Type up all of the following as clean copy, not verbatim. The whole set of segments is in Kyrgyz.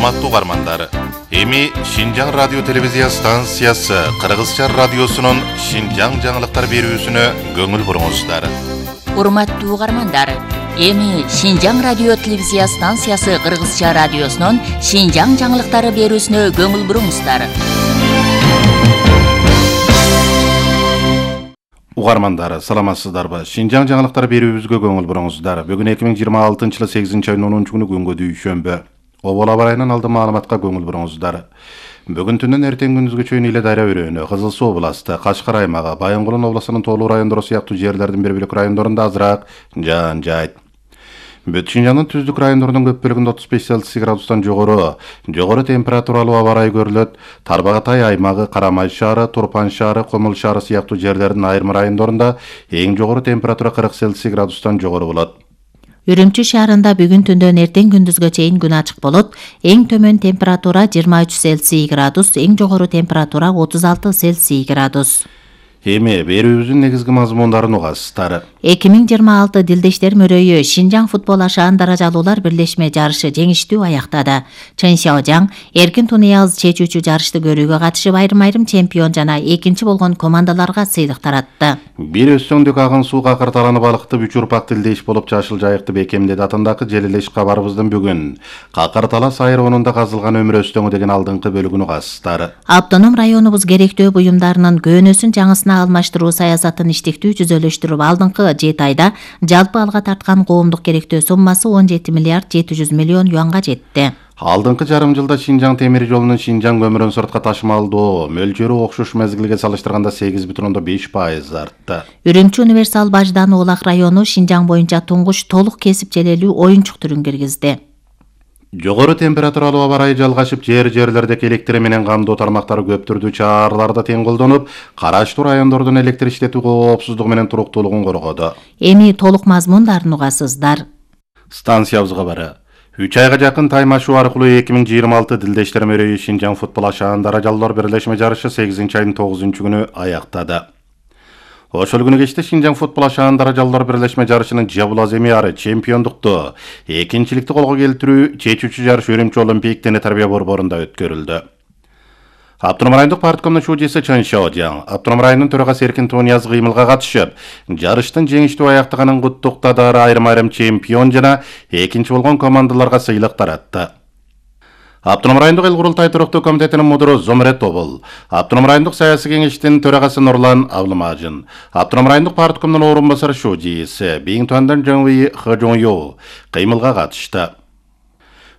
Урматтуу угармандар, эми Шинжаң радио телевизия станциясы Кыргызча радиосунун Шинжаң жаңылыктар берүүсүнө көңүл буруңуздар. Урматтуу угармандар, эми Шинжаң радио телевизия станциясы Кыргызча радиосунун Шинжаң жаңылыктары берүүсүнө көңүл буруңуздар. Угармандар, саламатсыздарбы? Шинжаң жаңылыктар берүүбүзгө көңүл буруңуздар. Бүгүн 2026-жылы 8-айнын 10-күнү күнгө дүйшөмбү. Обол абарайынан алды маалыматка көңүл буруңуздар. Бүгүн түндөн эртең күндүзгө чейин Иле Дайра өрөөнү, Кызыл Суу областы, Кашкар аймагы, Байынгулун областынын тоолуу райондору сыяктуу жерлердин бир бөлүк райондорунда азыраак жаан жайт. Бүт Шинжаңдын түздүк райондорунун көп бөлүгүндө 35 градустан жогору температуралуу аба ырайы көрүлөт. Тарбагатай аймагы, Карамай шаары, Турпан шаары, Комул шаары сыяктуу жерлердин айрым райондорунда эң жогору температура 40 градустан жогору болот. Үрүмчү шаарында бүгүн түндөн эртең күндүзгө чейин күн ачык болот. Эң төмөн температура 23 градус, эң жогору температура 36 градус. Эми берүүбүздүн негизги мазмундарын угасыздар. 2026 Дилдештер мөрөйү Шинжаң футбол ашаан даражалуулар бирлешме жарышы жеңиштүү аяктады. Чын Шаожаң эркин Тунуяз чечүүчү жарышты көрүүгө катышып айрым чемпион жана экинчи болгон командаларга сыйлык таратты. Бир өстөңдүк агын сууга кырталанып балыкты Үчүрпак Дилдеш болуп Жашыл Жайыкты бекемдеди атындагы желелеш кабарыбыздын бүгүн Какарталас айрымында казылган өмүр өстөңү деген алдыңкы бөлүгүн угасыздар. Автоном районубуз керектөө буюмдарынын көөнөсүн жаңысына алмаштыруу саясатын иштиктүү жүзөлөштүрүп алдыңкы 7 айда жалпы алга тарткан коомдук керектөө суммасы 17 миллиард 700 миллион юанга жетти. Алдыңкы жарым жылда Шинжаң темир жолунун Шинжаң көмүрүн сыртка ташымалдоо мөлчөрү окшош мезгилге салыштырганда 8,5% артты. Үрүмчү универсал баждан Улак району Шинжаң боюнча туңгуч толук кесип желелүү оюнчук түрүн киргизди. Жогору температуралуу аба ырайы жалгашып, жерлердеги электр менен камдоо тармактары көп түрдүү чараларда тең колдонуп, караштуу райондордун электр иштетүү коопсуздугу менен туруктуулугун коргоду. Эми толук мазмундарын угасыздар. Станциябызга бары 3 айга жакын таймашуу аркылуу 2026 Дилдештер мөрөйү Шинжаң футбол ашаан даражалуулар бирлешме жарышы 8-айнын 9-күнү аяктады. Ошол күнү кечте Шинжаң футбол ашаан даражалуулар бирлешме жарышынын Жабулаз Эмиары чемпиондукту, экинчиликти колго келтирүү чечүүчү жарыш Үрүмчү Олимпик дене тарбия борборунда өткөрүлдү. Автоном райондук парткомдун шуудчусу Чын Шаожаң, автоном районунун төрагасы Эркин Тунуяз кыймылга катышып, жарыштын жеңиштүү аяктаганын куттуктады, айрым чемпион жана экинчи болгон командаларга сыйлык таратты. Автоном райондук эл курултай туруктуу комитетинин мудуру Зомрет Обул, автоном райондук саясий кеңештин төрагасы Нурлан Абылмажын, автоном райондук парткомдун орун басары шуудчусу Биңтуандан Жаңвый Хожоньё кыймылга катышты.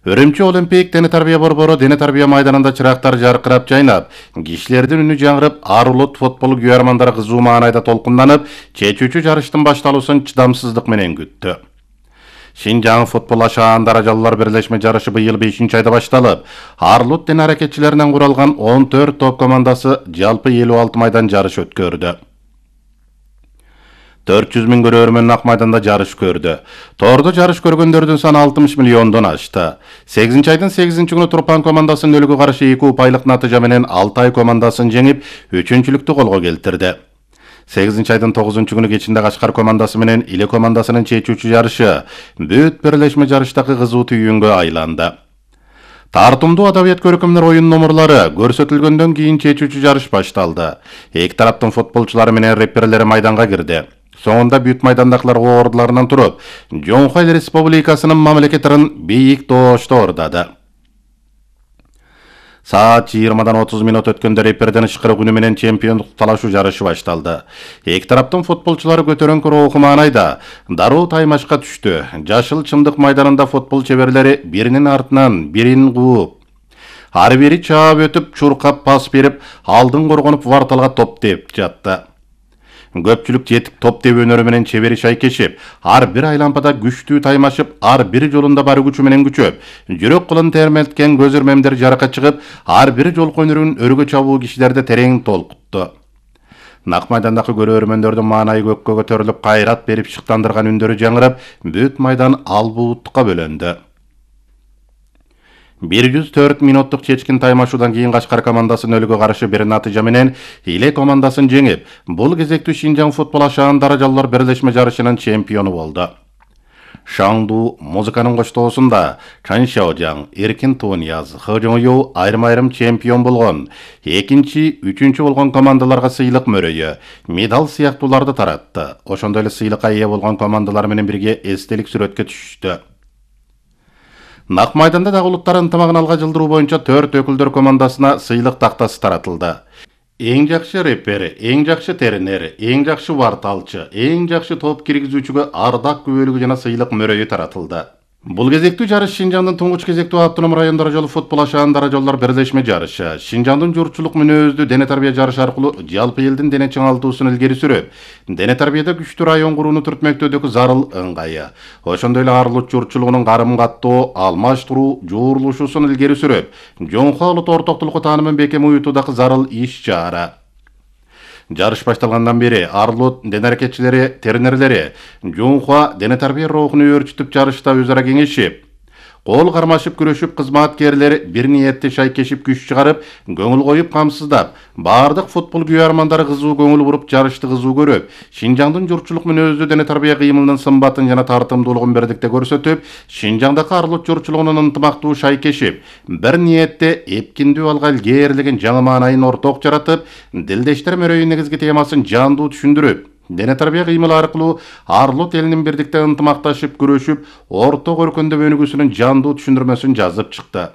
Үрүмчү Олимпик дене тарбия борбору дене тарбия майданында чырактар жаркырап жайнап, кишилердин үнү жаңырып, ар улут футбол күйөрмандары кызуу маанайда толкунданып, чечүүчү жарыштын башталуусун чыдамсыздык менен күттү. Шинжаң футбол ашаан даражалуулар бирлешме жарышы быйыл 5-айда башталып, ар улут дене аракетчилеринен куралган 14 топ командасы жалпы 56 майдан жарыш өткөрдү. 400 000 көрөрмөн ак майданда жарыш көрдү. Тордо жарыш көргөндөрдүн саны 60 миллиондон ашты. 8-айдын 8-күнү Турпан командасын нөлгө каршы 2 упайлык натыйжа менен Алтай командасын жеңип, 3-чүлүктү колго келтирди. 8-айдын 9-күнү кечинде Кашкар командасы менен Иле командасынын чечүүчү жарышы бүт бирлешме жарыштагы кызуу түйүнгө айланды. Тартымдуу адабият көркөмдөр оюн номурлары көрсөтүлгөндөн кийин чечүүчү жарыш башталды. Эки тараптын футболчулары менен реперлери майданга кирди. Соңунда бүт майдандагылар ордуларынан туруп, Жоңхой Республикасынын мамлекеттерин бийик тоошто ордады. Саат 20-дан 30 минут өткөндө реперден ышкырык үнү менен чемпиондук талашуу жарышы башталды. Эки тараптын футболчулары көтөрөңкү руху маанайда дароо таймашка түштү. Жашыл чымдык майданында футбол чеберлери биринин артынан бирин кууп, ар бири чаап өтүп, чуркап пас берип, алдын коргонуп варталга топ деп жатты. Көпчүлүк жетик топ теб өнөрү менен чебери шайкешип, ар бир айлампада күчтүү таймашып, ар бир жолунда бар күчү менен күчөп, жүрөк кылын термелткен көз өрмемдер жаракка чыгып, ар бир жолку өнөрүн өргө чабуу кишилерди терең толкутту. Нак майдандагы көрөрмөндөрдүн маанайы көккө көтөрүлүп, кайрат берип шыктандырган үндөрү жаңырап, бүт майдан албуутукка бөлөндү. 104 минуттук чечкин таймашуудан кийин Кашкар командасы нөлгө каршы бир натыйжа менен Иле командасын жеңип, бул кезектүү Шинжаң футбол ашаан даражалуулар бирлешме жарышынын чемпиону болду. Шаңду музыканын коштоосунда Чан Сяожаң, Эркин Тунияз, Хы Жоңю айрым-айрым чемпион болгон, экинчи, үчүнчү болгон командаларга сыйлык мөрөйү, медаль сыяктууларды таратты. Ошондой эле сыйлыкка ээ болгон командалар менен бирге эстелик сүрөткө түшүштү. Нак майданда дагы улуттар ынтымагын алга жылдыруу боюнча 4 өкүлдөр командасына сыйлык тактасы таратылды. Эң жакшы репер, эң жакшы тернер, эң жакшы варталчы, эң жакшы топ киргизүүчүгө ардак күбөлүгү жана сыйлык мөрөйү таратылды. Бул кезектүү жарыш Шинжаңдын туңгуч кезектүү автоном район даражалуу футбол ашаан даражалуулар бирлешме жарышы. Шинжаңдын журтчулук мүнөздүү дене тарбия жарышы аркылуу жалпы элдин дене чыңалтуусун илгери сүрөп, дене тарбияда күчтүү район курууну түртмөктөөдөгү зарыл ыңгайы, ошондой эле арылык журтчулугунун карым каттоо, алмаштыруу, жуурулушуусун илгери сүрөп, жоңхо улут ортоктулукку таанымын бекем уютуудагы зарыл иш-чара. Жарыш башталгандан бери арылут дене аракетчилери, тернерлери жоңхо дене тарбия рухуну өөрчүтүп жарышта өзара кеңешип, кол кармашып күрөшүп, кызматкерлер бир ниетте шайкешип күч чыгарып, көңүл коюп камсыздап, бардык футбол күйөрмандары кызуу көңүл буруп жарышты кызуу көрүп, Шинжаңдын журтчулук мүнөздүү дене тарбия кыймылынын сымбатын жана тартымдуулугун бирдикте көрсөтүп, Шинжаңдагы арылут журтчулугунун ынтымактуу шайкешип, бир ниетте эпкиндүү алга илгерилеген жаңы маанайын орток жаратып, дилдештер мөрөйүнүн негизги темасын жандуу түшүндүрүп, дене тарбия кыймылы аркылуу арылут элинин бирдикте ынтымакташып күрөшүп, орток өркөндөп өнүгүүсүнүн жандуу түшүндүрмөсүн жазып чыкты.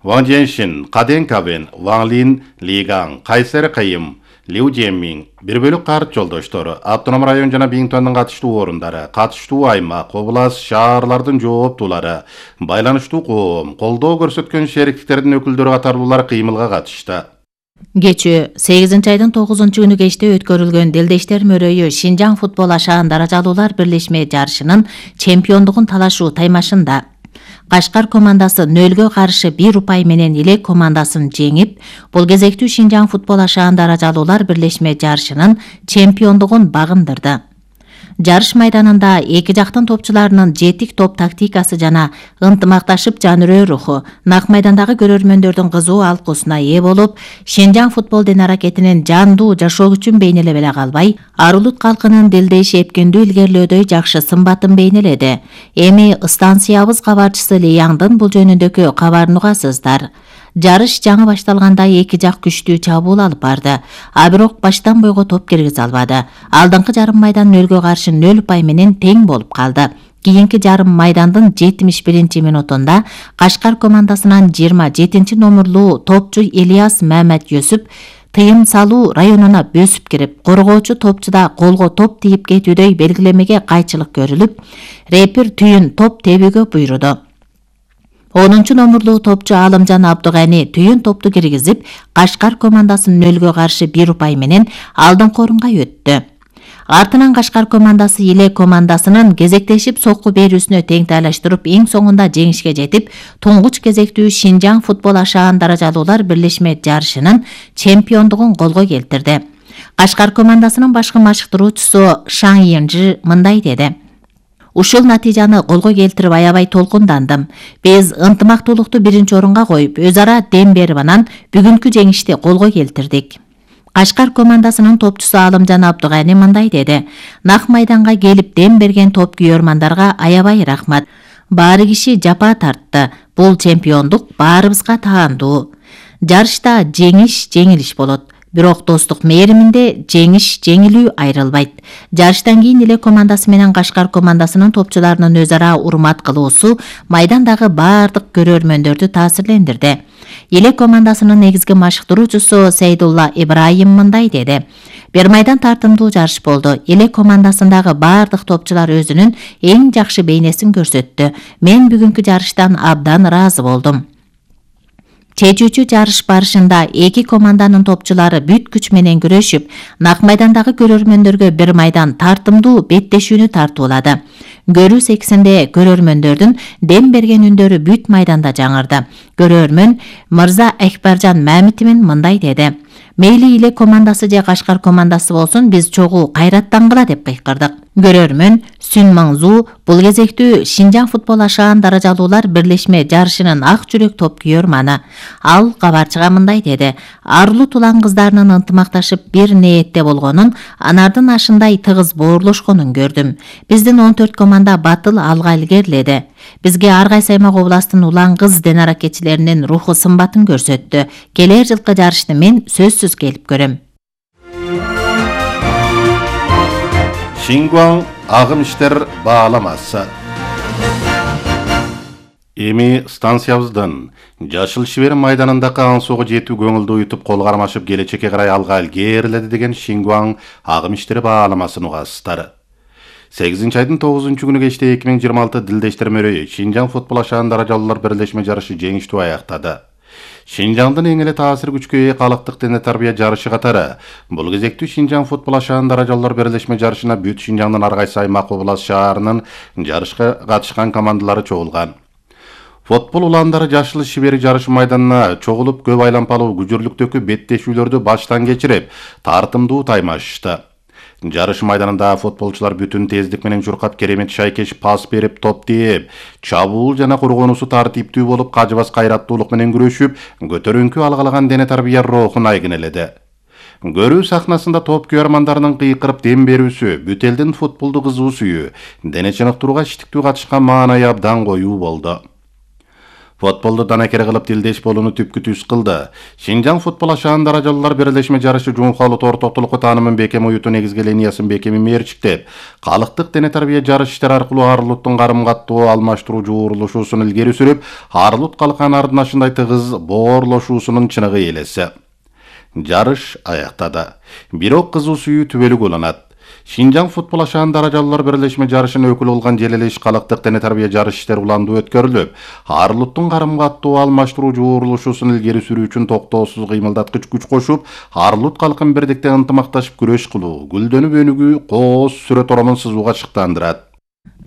Ван Женшин, Каден Кабен, Ван Лин, Лигаң, Кайсер Кайым, Лиу Жеммин, бир бөлүк карт жолдоштору, автоном район жана Биңтуандын катыштуу орундары, катыштуу аймак, облас, шаарлардын жооптуулары, байланыштуу коом, колдоо көрсөткөн шериктиктердин өкүлдөрү катарлуулар кыймылга катышты. Кечүү 8 айдын 9-күнү кечте өткөрүлгөн Дилдештер мөрөйү Шинжаң футбол ашаан даражалуулар бирлешме жарышынын чемпиондугун талашуу таймашында Кашкар командасы 0-гө каршы 1 упай менен Илек командасын жеңип, бул кезектүү Шинжаң футбол ашаан даражалуулар бирлешме жарышынын чемпиондугун багындырды. Жарыш майданында эки жактын топчуларынын жетик топ тактикасы жана ынтымакташып жанырөө руху нак майдандагы көрөрмөндөрдүн кызуу алкуусуна ээ болуп, Шинжаң футбол дене аракетинин жандуу жашоо күчүн бейнелебеле калбай, арылут калкынын дилдеш эпкиндүү илгерилөөдөй жакшы сымбатын бейнеледи. Эми станциябыз кабарчысы Лияңдын бул жөнүндөгү кабарын угасыздар. Жарыш жаңы башталганда эки жак күчтүү чабуул алып барды, а бирок баштан бойго топ киргизе албады. Алдыңкы жарым майдан 0-гө каршы 0 упай менен тең болуп калды. Кийинки жарым майдандын 71-минутунда Кашкар командасынан 27 номерлуу топчу Ильяс Мамет Юсуп тыйым салуу районуна бөсүп кирип, коргоочу топчуда колго топ тийип кетүүдөй белгилемеге кайчылык көрүлүп, репер түйүн топ тебүүгө буйруду. 10 номерлуу топчу Алымжан Абдыгани түйүн топту киргизип, Кашкар командасын 0-гө каршы 1 упай менен алдыңкы орунга өттү. Артынан Кашкар командасы Илек командасынын кезектешип сокку берүүсүнө тең тайлаштырып, эң соңунда жеңишке жетип, туңгуч кезектүү Шинжаң футбол ашаан даражалуулар бирлешме жарышынын чемпиондугун колго келтирди. Кашкар командасынын башкы машыктыруучусу Шаң Йенжи мындай деди: Ушул натыйжаны колго келтирип аябай толкундандым. Биз ынтымактуулукту биринчи орунга коюп, өз ара дем берип анан бүгүнкү жеңишти колго келтирдик. Кашкар командасынын топчусу Алымжан Абдыгани мындай деди: Нак майданга келип дем берген топ күйөрмандарга аябай рахмат. Баары киши жапа тартты. Бул чемпиондук баарыбызга таандуу. Жарышта жеңиш жеңилиш болот. Бирок достук мээриминде жеңиш жеңилүү айрылбайт. Жарыштан кийин Илек командасы менен Кашкар командасынын топчуларынын өз ара урмат кылуусу майдандагы баардык көрөрмөндөрдү таасирлендирди. Илек командасынын негизги машыктыруучусу Сейдулла Ибраим мындай деди: Бир майдан тартымдуу жарыш болду. Илек командасындагы баардык топчулар өзүнүн эң жакшы бейнесин көрсөттү. Мен бүгүнкү жарыштан абдан ыраазы болдум. Чечүүчү жарыш барышында эки команданын топчулары бүт күч менен күрөшүп, нак майдандагы көрөрмөндөргө бир майдан тартымдуу беттешүүнү тартуулады. Көрүү сексинде көрөрмөндөрдүн дем берген үндөрү бүт майданда жаңырды. Көрөрмөн Мырза Экбаржан Мамитовин мындай деди: Мейли эле командасы же Кашкар командасы болсун, биз чогуу кайраттангыла деп кыйкырдык. Көрөрмөн Сүн Маңзу бул кезектүү Шинжаң футбол ашаан даражалуулар бирлешме жарышынын ак жүрөк топ күйөрманы. Ал кабарчыга мындай деди: Арлуу тулан кыздарынын ынтымакташып бир ниетте болгонун, анардын ашындай тыгыз боорлошконун көрдүм. Биздин 14 команда батыл алга илгериледи. Бизге ар кайсы аймак областын улан кыз ден аракетчилеринин руху сымбатын көрсөттү. Келер жылкы жарышты мен сөзсүз келип көрөм. Шингуаң агым иштер бааламасы. Эми станциябыздан Жашыл Шибер майданындагы аңсоого жетүү көңүлдү уютуп кол кармашып келечекке карай алга илгериледи деген Шингуаң агым иштери бааламасын угасыздар. 8-айдын 9-күнү кечте 2026 Дилдештер мөрөйү Шинжаң футбол ашаан даражалуулар бирлешме жарышы жеңиштүү аяктады. Шинжаңдын эң эле таасир күчкө ээ калктык дене тарбия жарышы катары бул кезектүү Шинжаң футбол ашаан даражалуулар бирлешме жарышына бүт Шинжаңдын ар кайсы аймак област шаарынын жарышка катышкан командалары чогулган. Футбол уландары Жашыл Шибер жарышы майданына чогулуп көп айлампалуу күжүрлүктөгү беттешүүлөрдү баштан кечирип, тартымдуу таймашышты. Жарыш майданында футболчулар бүтүн тездик менен журкап керемет шайкеш пас берип, топ тээп, чабуул жана коргонуусу тартиптүү болуп, кажыбас кайраттуулук менен күрөшүп, көтөрүңкү алгалаган дене тарбия рухун айгинеледи. Көрүү сахнасында топ күйөрмандарынын кыйкырып дем берүүсү, бүт элдин футболду кызуу сүйүү, дене чыныктырууга иштиктүү катышкан маанайы абдан коюу болду. Футболду данакер кылып дилдеш болууну түпкү түз кылды. Шинжаң футбол ашаан даражалуулар бирлешме жарышы Жумхалуу тортоктулукку таанымын бекем уюту негизги линиясын бекеми мерчиктеп, калктык дене тарбия жарыш иштери аркылуу Арлуттун карым-каттуу алмаштыруу жуурулушуусун илгери сүрүп, Арлут калкан ардын ашындай тыгыз боорлошуусунун чыныгы элеси. Жарыш аяктады. Бирок кызуу сүйүү түбөлүк уланат. Шинжаң футбол ашаан даражалуулар бирлешме жарышынын өкүлү болгон Желелеш калктык дене тарбия жарыш иштери уландуу өткөрүлүп, Арлуттун карым-каттуу алмаштыруу жуурулушуусун илгери сүрүү үчүн токтоосуз кыймылдаткыч күч кошуп, Арлут калкын бирдикте ынтымакташып күрөш кылуу, гүлдөнүп өнүгүү, коос сүрөт оромун сызууга шыктандырат.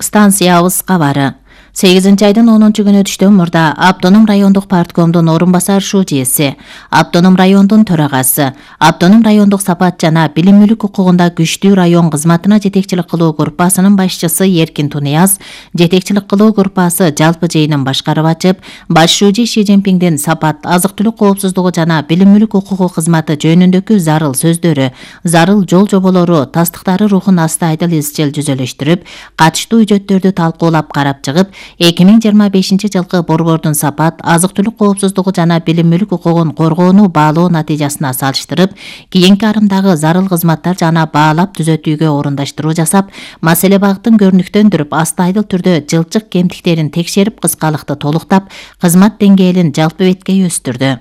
Станциябыз кабары. 8-айдын 10-күнү түштөн мурда Автоном райондук парткомдун орун басар шужеси, Автоном райондун төрагасы, Автоном райондук сапат жана билим мүлүк укугунда күчтүү район кызматына жетекчилик кылуу группасынын башчысы Эркин Тунияз, жетекчилик кылуу группасы жалпы жыйынын башкарып ачып, баш шужи Ши Цзиньпиңдин сапат, азык-түлүк коопсуздугу жана билим мүлүк укугу кызматы жөнүндөгү зарыл сөздөрү, зарыл жол жоболору, тастыктары рухун астайдыл изчил жүзөлөштүрүп, катыштуу үжөттөрдү талкуулап карап чыгып, 2025 жылкы борбордун сапат, азык-түлүк коопсуздугу жана билим мүлүк укугун коргоону баалоо натыйжасына салыштырып, кийинки арымдагы зарыл кызматтар жана баалап түзөтүүгө орундаштыруу жасап, маселе багытын көрүнүктөндүрүп, астайдыл түрдө жылчык кемтиктерин текшерип, кыскалыкты толуктап, кызмат деңгээлин жалпы беткей өстүрдү.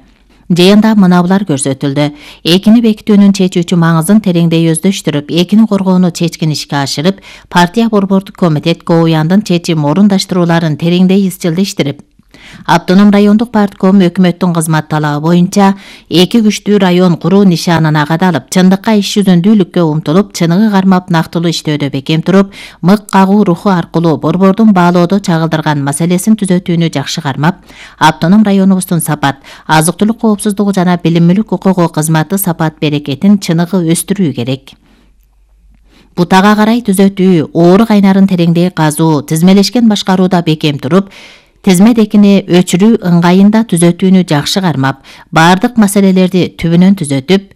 Жыйында мынабулар көрсөтүлдү. Экини бекитүүнүн чечүүчү маңызын тереңдей өздөштүрүп, экини коргоону чечкин ишке ашырып, партия борбордук комитет КОУЯндын чечим орундаштырууларын тереңдей изчилдештирип, Автоном райондук партком өкмөттүн кызмат талабы боюнча эки күчтүү район куруу нишанына кадалып, чындыкка иш жүзүндүүлүккө умтулуп, чыныгы кармап нактылуу иштөөдө бекем туруп, мык кагуу руху аркылуу борбордун баалоодо чагылдырган маселесин түзөтүүнү жакшы кармап, Автоном районубуздун сапат, азык-түлүк коопсуздугу жана билим мүлүк укугу кызматы сапат берекетин чыныгы өстүрүү керек. Бутага карай түзөтүү, оору кайнарын тереңдей казуу, тизмелешкен башкарууда бекем туруп, тизмет экини өчүрүү ыңгайында түзөтүүнү жакшы кармап, баардык маселелерди түбүнөн түзөтүп,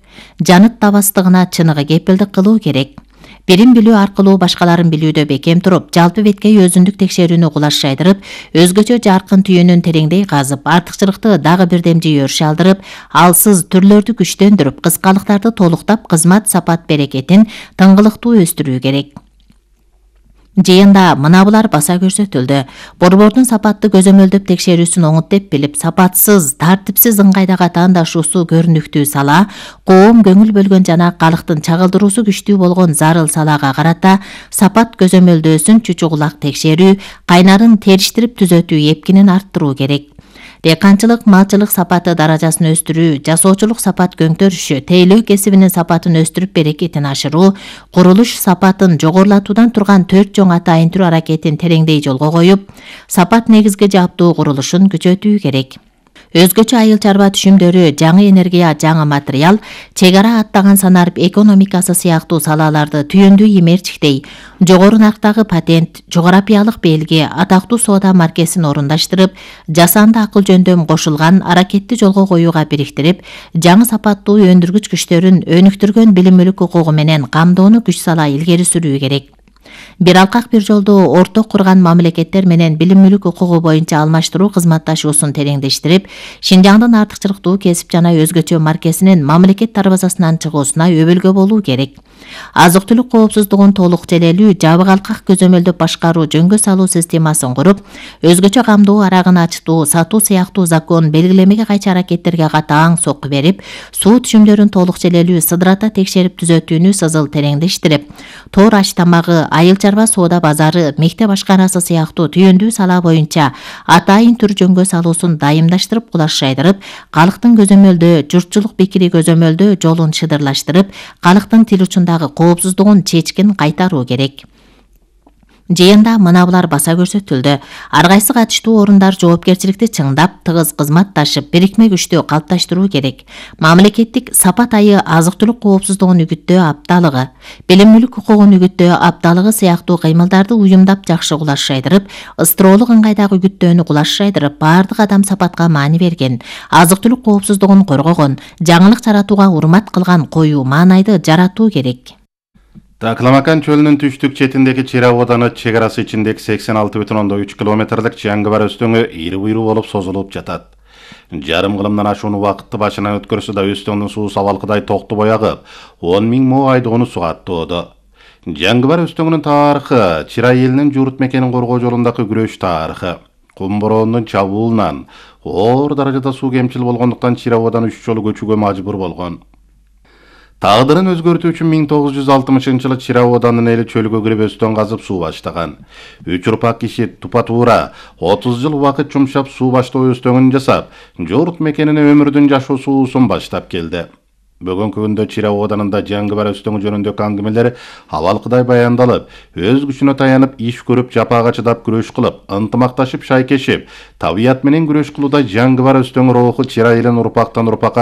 жаныт табастыгына чыныгы кепилдик кылуу керек. Бирин билүү аркылуу башкаларын билүүдө бекем туруп, жалпы беткей өзүндүк текшерүүнү кулаш жайдырып, өзгөчө жаркын түйүнүн тереңдей казып, артыкчылыкты дагы бирдем жүйөрүш алдырып, алсыз түрлөрдү күчтөндүрүп, кыскалыктарды толуктап, кызмат сапат берекетин тыңгылыктуу өстүрүү керек. Жыйында мынабулар баса көрсөтүлдү. Борбордун сапатты көзөмөлдөп текшерүүсүн оңуттеп билип, сапатсыз, тартипсиз ыңгайдагы атаандашуусу көрүнүктүү сала, коом көңүл бөлгөн жана калктын чагылдыруусу күчтүү болгон зарыл салага карата сапат көзөмөлдөөсүн чучугулак текшерүү, кайнарын териштирип түзөтүү эпкинин арттыруу керек. Деканчылык, малчылык сапаты даражасын өстүрүү, жасоочулук сапат көңтөрүшү, тейлөө кесибинин сапатын өстүрүп берекетин ашыруу, курулуш сапатын жогорулатуудан турган 4 чоң атайын түр аракетин тереңдей жолго коюп, сапат негизги жаптуу курулушун күчөтүү керек. Өзгөчө айыл чарба түшүмдөрү, жаңы энергия, жаңы материал, чек ара аттаган санарып экономикасы сыяктуу салаларды түйүндүү имерчиктей, жогору нарктагы патент, жогорапиялык белги, атактуу соода маркесин орундаштырып, жасанды акыл жөндөм кошулган аракетти жолго коюуга бириктирип, жаңы сапаттуу өндүргүч күчтөрүн өнүктүргөн билим мүлүк укугу менен камдоону күч сала илгери сүрүү керек. Бир алкак бир жолду орток курган мамлекеттер менен билим мүлүк укугу боюнча алмаштыруу кызматташуусун тереңдештирип, Шинжаңдын артыкчылыктуу кесип жана өзгөчө маркесинин мамлекет дарбазасынан чыгуусуна өбөлгө болуу керек. Азык-түлүк коопсуздугун толук желелүү, жабык алкак көзөмөлдөп башкаруу жөнгө салуу системасын куруп, өзгөчө камдоо арагын ачтуу, сатуу сыяктуу закон белгилемеге кайчы аракеттерге катаң сокку берип, суу түшүмдөрүн толук желелүү сыдырата текшерип түзөтүүнү сызыл тереңдештирип, тоор аш тамагы, айыл чарба соода базары, мектеп ашканасы сыяктуу түйүндүү сала боюнча атайын түр жөнгө салуусун дайымдаштырып, кулашайдырып, калктын көзөмөлдөө, журтчулук пикири көзөмөлдөө жолун шыдырлаштырып, калктын тил учундагы коопсуздугун чечкин кайтаруу керек. Жыйында мына булар баса көрсөтүлдү. Ар кайсы катыштуу орундар жоопкерчиликти чыңдап, тыгыз кызматташып, бирикме күчтү калыпташтыруу керек. Мамлекеттик сапат айы азык-түлүк коопсуздугун үгүттөө апталыгы, билим мүлүк укугун үгүттөө апталыгы сыяктуу кыймылдарды уюмдап жакшы кулашайдырып, ыстыроолук ыңгайдагы үгүттөөнү кулашайдырып, баардык адам сапатка маани берген, азык-түлүк коопсуздугун коргогон, жаңылык жаратууга урмат кылган коюу маанайды жаратуу керек. Такламакан чөлүнүн түштүк четиндеги Чира ооданы чек арасы ичиндеги 86,3 километрлик Жаңгыбар өстөңү ири буйруу болуп созулуп жатат. Жарым кылымдан ашууну убакытты башынан өткөрсө да өстөңдүн суу сабалкыдай токтубой агып, 10 000 мо айдоону суга аттоодо. Жаңгыбар өстөңүнүн тарыхы Чира элинин журт мекенин коргоо жолундагы күрөш тарыхы. Кум бороондун чабуулунан оор даражада суу кемчил болгондуктан Чира ооданы 3 жолу көчүүгө мажбур болгон. Тагдырын өзгөртүү үчүн 1960-жылы Чира ооданын эли чөлгө кирип өстөң казып суу баштаган. 3 урпак киши тупа туура 30 жыл убакыт жумшап суу баштоо өстөңүн жасап, журт мекенине өмүрдүн жашоо суусун баштап келди. Бүгүнкү күндө Чира оодарында Жаңгыбар өстөңү жөнүндөгү аңгемелер абалкыдай баяндалып, өз күчүнө таянып, иш көрүп, жапага чыдап күрөш кылып, ынтымакташып, шайкешип, табият менен күрөш кылууда Жаңгыбар өстөңү руху Чира элин урпактан урпакка